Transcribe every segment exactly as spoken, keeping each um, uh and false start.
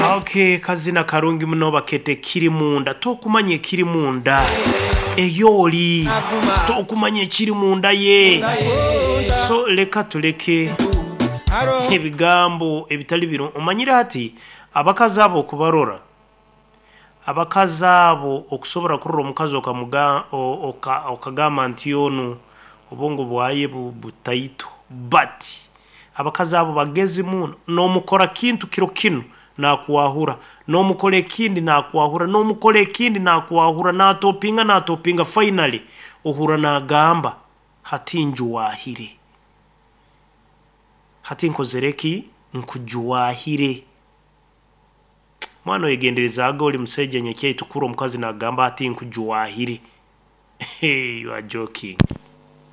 Okay, kazina karungi muno bakete kiri munda. Tokumanya ekiri munda eyoli, tokumanya ekiri munda ye. So leka tuleke ebigambo ebitali biro. Omanyire hati abakazi abo okubarora, abakazi abo okusobora kurora omukazi okamuga o- oka- okagamba nti onu obwongo bwaye bu- butaito, but abakazi abo bagezi muno. N'omukora kintu kiro kinu nakwahura, n'omukora ekindi nakwahura, n'omukora ekindi nakwahura, natopinga natopinga, finally ohura nagamba hati njuwahire, hati nkozere ki, nkujuwahire. Mwana oyegenderezaaga oli musaija nyakyaitu kura omukazi nagamba hati nkujuwahire. Hey, you are joking.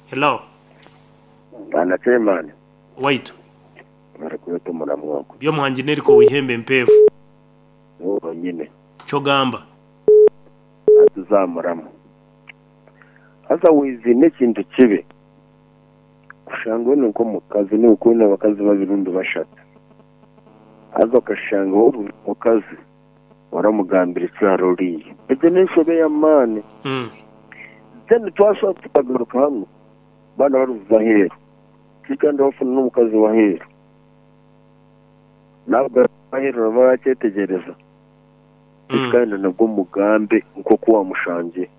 Hello. Bwana Chairman, waitu barikweta omuramu ogwo. Byomuhangi neriko wihembe empeefu. Niwe wonyine. Kyogamba atuzamuramu. Haza wizi n'ekintu kibi. Kushanga we nk'omukazi niwe kwine abakazi babiri rundi bashatu. Haza okashanga wowe omukazi waramugambira ekyaro oriye. Egyo n'enshobe y'amaani. Mm. Then twashobora tukagaruka hano baana baruza aheeru. Kandi bafuna n'omukazi w'aheeru. Nabwo aheeru nabo barakyetegereza. Mm. Kandi nabwo mugambe nk'oku wamushangiye.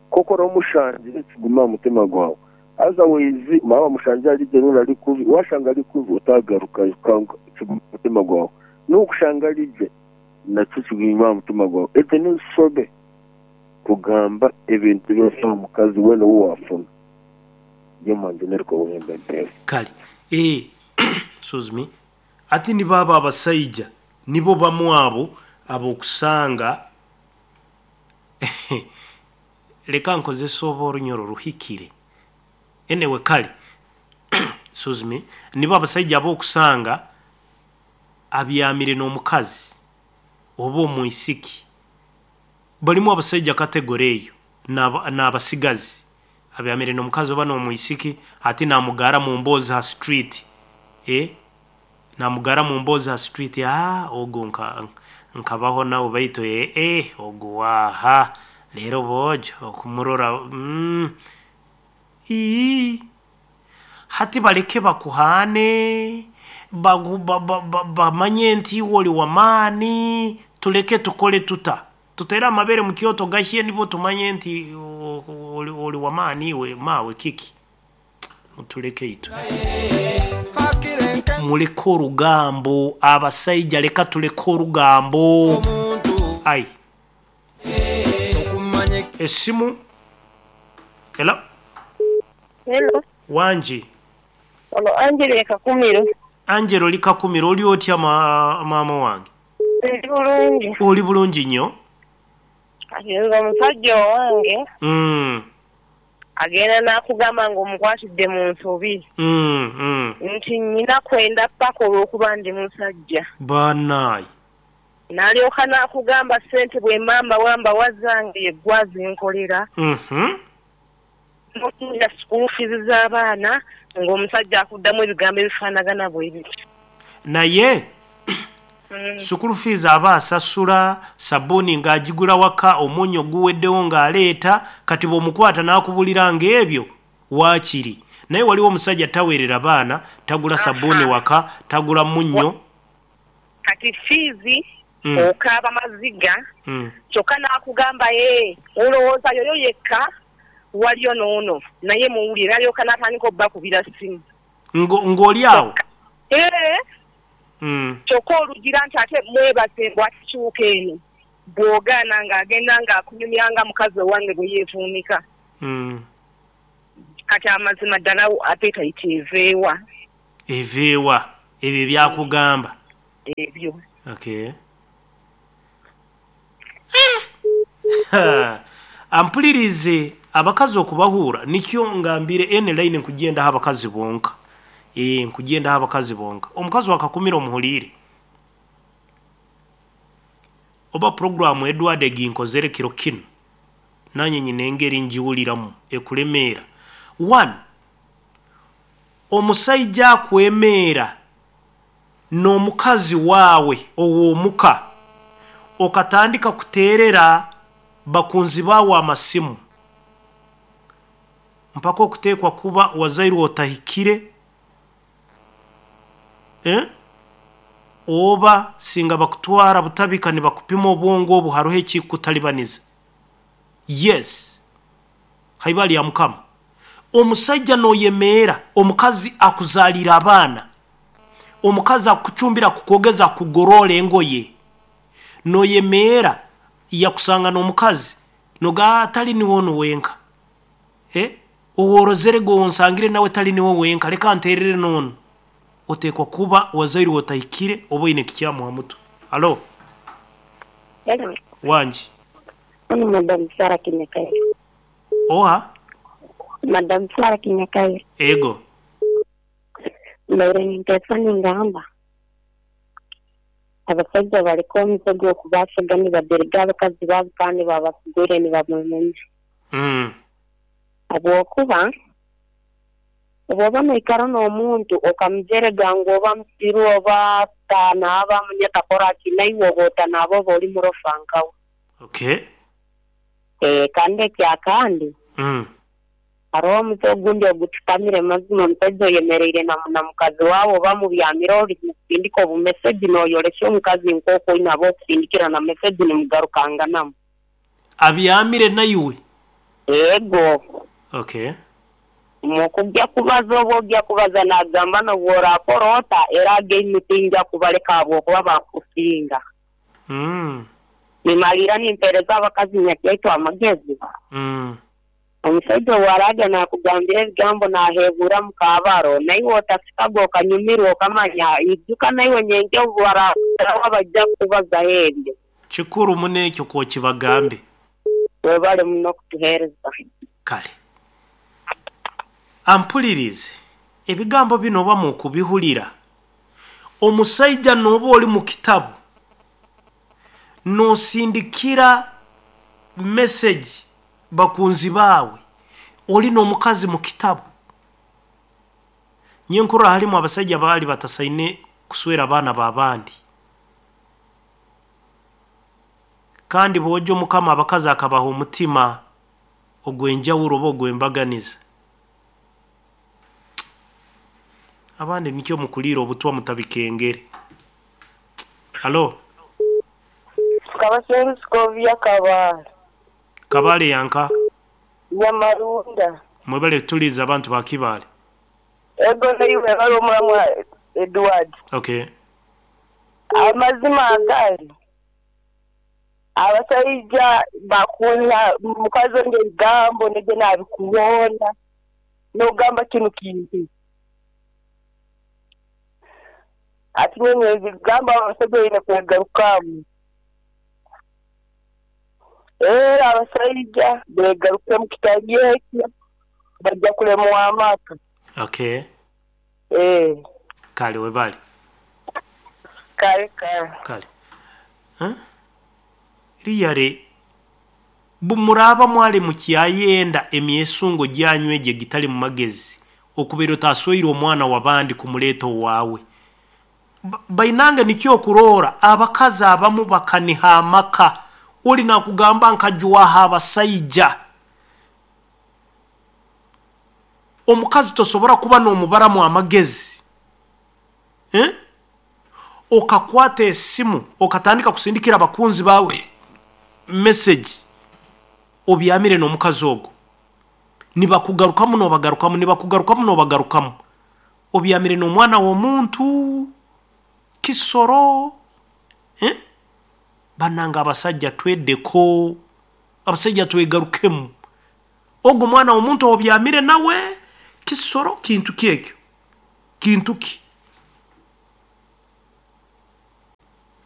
Koko oramushangiye kiguma aha mutima gwawe. Haza wizi mwaba wamushangiye ari gye rundi ari kubi, washanga ari kubi utagaruka kiguma aha mutima gwawe. N'okushanga ari gye nakyo kiguma aha mutima gwawe. Egyo n'enshobe kugamba ebintu byose aha mukazi weena ou wafuna. Niyo mpamvu neriko buhembe mpeefu. Kale eh, excuse me, ati nibaba abasaija nibo bamu abo abokusanga leka nkozesa oba orunyoro ruhikire enewe. Kale, excuse me, nibo abasaija abokusanga abyamire n'omukazi oba omwisiki. Balimu abasaija kategori eyo n'aba- n'abasigazi abyamire n'omukazi oba n'omwisiki, ati namugara mu mboozi ha street, eh? Namugara mu mboozi ha street, ah, ogu nka nkabaho nawe baitu eh, eh, ogu waha leero boojo okumurora mm, ii. Hati baleke bakuhane bagu- ba- ba- ba- bamanye nti iwe oli wamaani. Tuleke tukole tuta tutere amabere mu kyoto gahye nibo tumanye nti o- o- oli, oli wamaani iwe mawe kiki. Mutuleke itwe, muleke orugambo abasaija, leka tuleke orugambo. Ai, esimu. Hello. Hello. Wangi. Ono Angela Kakumiro. Angela oli Kakumiro, oli otya ma, maama wange? Ndi bulungi. Oli bulungi nnyo. Kati nze omusajja owange mm, agenda n'akugamba ng'omukwatidde mu nsobi mm, mm. nti nnyina kwenda ppaka olw'okuba ndi musajja. Bannaayi. N'alyoka n'akugamba ssente bwe mamba wamba wazange ye ggwe azinkolera. Mhm. N'otunula school fees z'abaana ng'omusajja akuddamu ebigambo ebifaanagana bwe bityo. Naye Mm. school fees aba asasula, sabbuuni ng'agigula waka, omunnyo guweddewo ng'aleeta. Kati bw'omukwata n'akubulira ng'ebyo waakiri, naye waliwo omusajja taweerera baana, tagula sabbuuni Aha. waka, tagula munnyo. Kati fiizi Mm. okaaba maziga Mm. kyokka n'akugamba ye olowooza yoyo yekka waliyo n'ono naye muwulire, alyoka n'atandika obbakubira ssimu. Ngo- ng'oli awo. Ee, Mm. kyokka olugira nti ate mwebaze mbw atikyuka eno bw'ogaana ng'agenda ng'akunyumya nga mukazi owange bwe yeevuunika. Mm. Kati amazima ddala appetite eveewa? Eveewa ebyo byakugamba? Ebyo. Okay. Ha, ampulirize abakazi okubahuura nikyo ngambire ene line nkugendaho abakazi bonka, eh, nkugendaho abakazi bonka. Omukazi wakakumira omuhuliire oba programu Edward eginkozere kiro kino nanye nyina engeri ngiwuliramu ekulemeera. One, omusaija akwemeera n'omukazi waawe ow'omuka. Okatandika kuteerera bakunzi baawe amasimu mpaka okuteekwa kuba wazairwe otahikire, eh? Oba singa bakutwara butabika nibakupima obwongo obu haruho ekikutalibaniza. Yes, haibali ya mukama. Omusajja noyemeera omukazi akuzaalira abaana, omukazi akucumbira, akukogeza, akugorora engoye, noyemeera yakusanga n'omukazi noga atali niwe ono wenka, eh? Oworozere gwe onsangire nawe tali niwe wenka, leka nterere nono. Oteekwa kuba wazairwe otahikire oba oine kikyamu ha mutwe. Alo? Hello. Wangi. Ono Madam Sarah Kinyakaire. Oha? Madam Sarah Kinyakaire. Ego. Mbaire ninteesa ningamba abasajja baliko omuze gw'okubasiga nibaderega abakazi baabo kandi babasigwire nibamumenya. Mm. Habwokuba obwoba noikara n'omuntu okamujerega ngu oba musiru oba tanaaba munyatakora ki, naiwe oba otanaaba oba oli murofa nkawe. Okay. Eh, kandi ekyakandi Mm. hariho omuze ogundi ogututamire mazima. Omusajja oyemereire na, na mukazi waawe oba mubyamire ori mukusindika obumeseji noyolesya omukazi nk'oku oine ab'okusindikira na meseji nimugarukanganamu. Abyamire naiwe? Ego. Okay. Mukujja kubaza oba ojja kubaza nagamba nobworakora ota era againi tinja kubaleka habwokuba bakusinga. Mm. Nimalira nimpereza abakazi nyakyaitu amagezi. Mm. Omusajja owaraga nakugambira ebigambo nahebura mukabaro naiwe otasikaga okanyumirwa okamanya ijuka naiwe nyenkya obubarakuraho bajja kubazaho ebyo. Kikuru muno ekyo kokibagambe. Webale muno kutuheereza. Kale ampulirize, ebigambo bino oba mukubihulira. Omusajja n'oba oli mu kitabu nosindikira message bakunzi baawe oli n'omukazi mu kitabu. Nyenkurra halimu abasajja baali batasaine kuswera abaana b'abandi, kandi bw'ojja omukama abakazi akabaha omutima ogw'enjawulo oba ogw'embaganiza. Abandi nikyo mukuliira obutwa mutabikengere. Alo? Kabasengu Sikovia, Kabale. Kabale yanka? Nyamarunda. Mwebale tuliza abantu ba Kibaale. Ego, naiwe bali omulamwa Edward. Okay. Amazima agali abasajja bakunda mukazi onge ebigambo negye nabikuboona nogamba kinu kintu ati nyene ebigambo abasajja baine kwegarukamu, era abasajja begarukemu, kitali ekyo bajja kulemwa amaka. Okay. Eh. Kale, webale. Kale kale. Kale. Huh? Riyare bumuraba mwali mukyayenda emyesungo gyanyu egyo egitali mu magezi okubeera otasweire omwana w'abandi kumuleeta owaawe. Ba- bainange nikyo okuroora abakazi abamu bakaniha amaka, oli nakugamba nkajwaha abasaija. Omukazi tosobora kuba n'omubaramu amagezi, eh? Okakwata esimu okatandika kusindikira abakunzi baawe message obyamire n'omukazi ogwo, nibakugarukamu nobagarukamu, nibakugarukamu nobagarukamu, obyamire n'omwana w'omuntu kisoro, eh? Bananga abasajja tweddeko, abasajja twegarukemu. Ogwo mwana w'omuntu obyamire nawe kisoro, kintu ki ekyo? Kintu ki?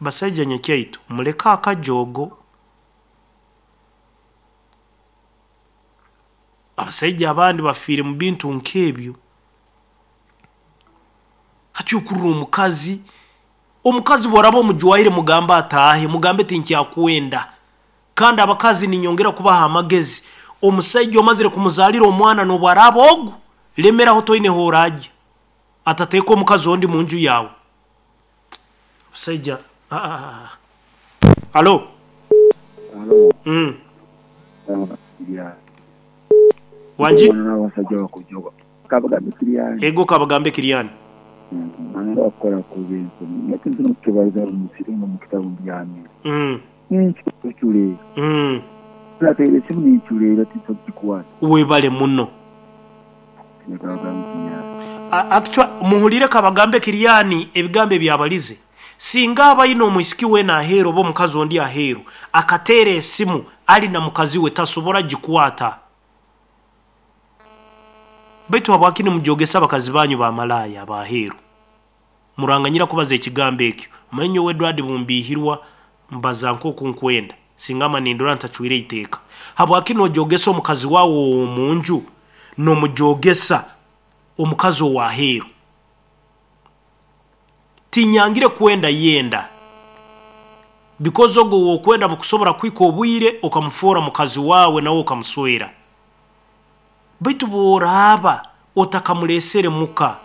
Basajja nyakyaitu muleke akajogo. Abasajja abandi bafiire mu bintu nk'ebyo. Hati okurra omukazi, omukazi bw'oraba omujwaire mugambe ataahe, mugambe tinkyakwenda. Kandi abakazi ninyongera kubaha amagezi, omusajja omazire kumuzaalira omwana n'obwaraaba ogu lemeraho, toineho orajya atateeka omukazi ondi mu nju yawe. Abasajja, ah, ah, ah. Alo. Alo. Mm. Ya. Wanji? N'abasajja bakujoga. Kabagambe Kiriyani. Ego Kabagambe Kiriyani. Nanga bakora ku bintu. Nyakintu n'okukibaliza mu musiri mu kitabu byamye. Mm. Ninculeera. Mm. Nateera esimu ninculeera tinsobola Webale muno. Kabagambe Kiriyani. Actually muhulire Kabagambe Kiriyani ebigambo ebyabalize. Singa abayina omwisiki weena aheeru oba omukazi ondi aheeru akateera esimu ali na mukazi we tasobola gikwata. Baitu habwaki nimujogesa abakazi banyu bamalaaya abaheeru? Muranganyira kubaza ekigambo ekyo. Omanyi nyowe Edward bumbihirwa mbaza nk'oku nkwenda singa manindura ntacwire iteeka. Habwaki nojogesa omukazi wawe omunju nomujogesa omukazi owaheeru? Tinyangire kwenda yenda because ogo wokwenda bukusobora kwika obwire okamufoora mukazi wawe nawe okamuswera. Baitu bworaba otakamulesere muka.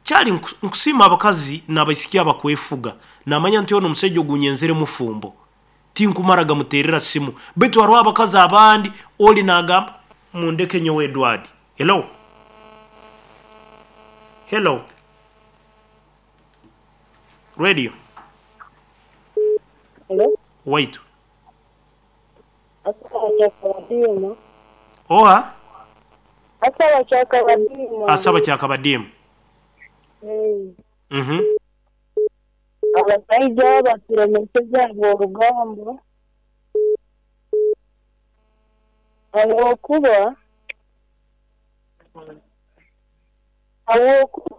Kyali nkusiima abakazi n'abaisiki abakwefuga namanya nti ono omusajja ogunyenzere mufumbo tinkumara gamuterera simu. Baitu hariho abakazi abandi oli nagamba mundeke nyowe Edward. Hello. Hello. Radio. Hello. Waitu. Asaba kyakabadiima. Oha? Asaba kyakabadiima. Asaba kyakabadiima. Hey. Mhm. Abasajja baturemeseza orugambo. Ahabwokuba ahabwokuba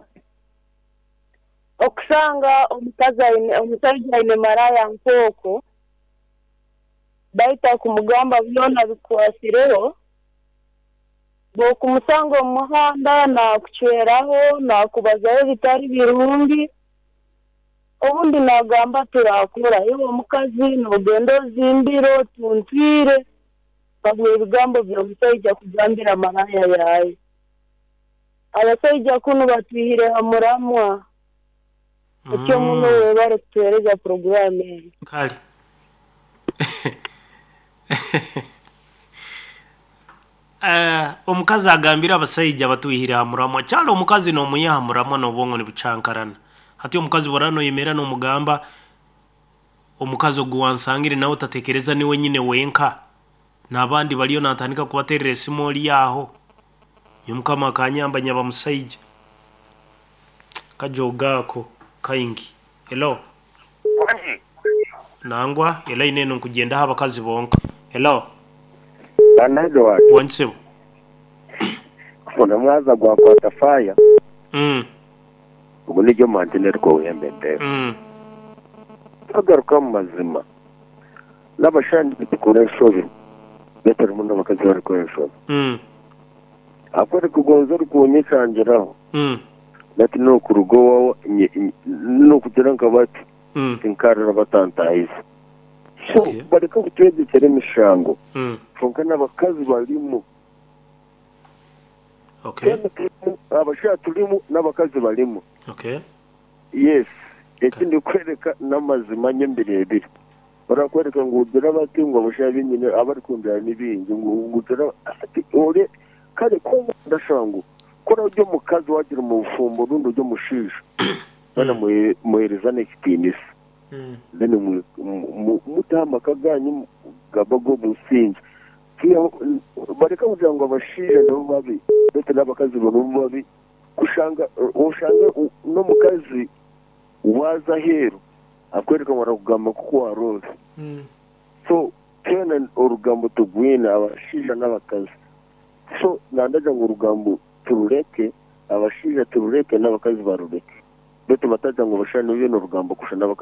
okusanga omukazi aine omusajja aine maraya nkooko baita kumugamba byona bikwasireho bw'okumusanga omu muhanda nakucweraho nakubazaho ebitari birungi obundi nagamba turakora iwe omukazi nogenda ozimbire otuntwire babwa ebigambo by'omusajja kugambira maraya yaye. Abasajja kunu batwihire ha muramwa. Ekyo muno webare kutuhereza poroguramu eyo. Kale. Uh, omukazi agambira abasajja batwihire ha muramwa. Kyali omukazi n'omuyiha ha muramwa n'obwongo nibucankarana. Hati omukazi bw'oraba noyemera n'omugamba omukazi ogu wansangire nawe otatekereza niwe nyine wenka n'abandi bariyo natandika kubaterera esimu ori aho. Mukama akanyamba nyaba musaija. Kajogaako kaingi. Hello. Nangwa elaine eno nkugendaho abakazi bonka. Hello. Bana Edward. Wansibo. Kuna mwaza gwakwata fire. Mm. Ubwo nijyo mantine rwo wembende. Mm. Tagaruka mu mazima. N'abashandi bitukora enshobe. Better muno abakazi barikora enshobe. Mm. Akore kugonza rukunyekangiraho. Mm. Nati no kurugo no kugira nka bati. Mm. Tinkarira batantayiza. So Okay. bareka kutwegekera emishango. Mm. Konka n'abakazi barimu. Okay. Abasha turimu n'abakazi barimu. Okay. Yes. Ekindi kwereka n'amazima nyembirebire. Barakwereka ngu ugira bati ngo abasha binyine abari kumbira n'ibingi ngo ugira ati ore kare ko ndashango kora ujye mukazi wagira mu bufumbo rundi ujye mushisha. Bana muhereza n'ekitinisa. Mm. Then mutama kaganyu gabago businzi. Bareka kugira ngo abashije nabo babi ndetse n'abakazi nabo babi kushanga ushanga no mukazi waza heru akwereka barakugamba kuko waroze. Mm. So tena orugambo tugwina abashija n'abakazi. So nandaja ngo urugambo turureke abashija turureke n'abakazi barureke. Betu bataja ngo bashane bino urugambo kusha n'abakazi.